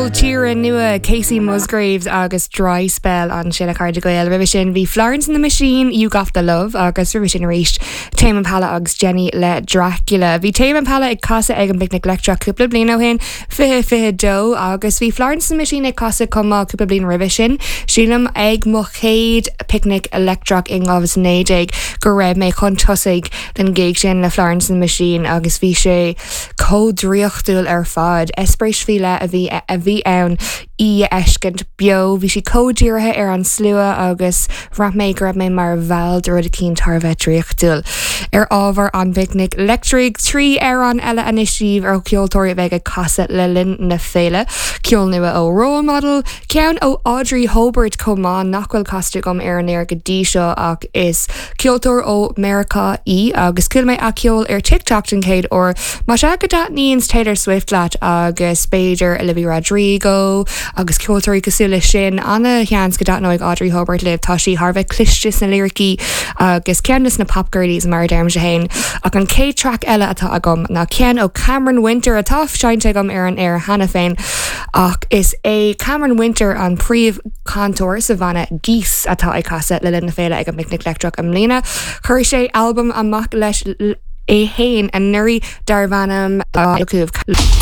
Ceol tíre nua Kacey Musgraves agus Dry Spell ansin a chairde Gael. Roimhe sin bhí Florence and the Machine, You Got the Love agus roimhe sin arís Tame Impala agus Jennie le Dracula. Bhí Tame Impala ag casadh ag an bPicnic Leictreach cúpla bliain ó shin, 2022, agus bhí Florence and the Machine ag casadh chomh maith cúpla bliain roimhe sin. Sílim ag mo chéad Picnic Leictreach in 2019 go raibh mé chun tosaigh don ghig sin le Florence and the Machine agus bhí sé chomh draíochtúil ar fad. Eispéireas faoi leith a bhí a bhí ann í a fheiscint beo. Bhí sí chomh dírithe ar an slua agus bhraith mé go raibh mé mar bhall de rud eicínt thar a bheith draíochtúil. Ar ábhar an bPicnic Leictrigh, 3 amhrán eile anois daoibh ó cheoltóirí a bheidh ag casadh le linn na féile. Ceol nua ó Role Model, ceann ó Audrey Hobert chomh maith nach bhfuil casta agam ar an aer go dtí seo ach is Ceoltóir ó Meiriceá í agus chuala mé a ceol ar TikTok den chéad uair. Más ea go dtaitníonns Taylor Swift leat agus b'fhéidir Olivia Rodrigo agus ceoltóirí cosúil leis sin, ana-sheans go dtaitneoidh Audrey Hobert libh. Tá sí thar a bheith cliste sna liricí agus ceann de na pop girlies mar a deirimse féin. Ach an chéad traic eile atá agam ná ceann ó Cameron Winter atá seinnte agam ar an aer cheana féin ach is é Cameron Winter an príomh chainteoir sa bhanna Geese atá ag casadh le linn na féile ag an bPicnic Leictreach i mbliana. Chuir sé albam amach leis é fhéin anuraidh darbh ainm.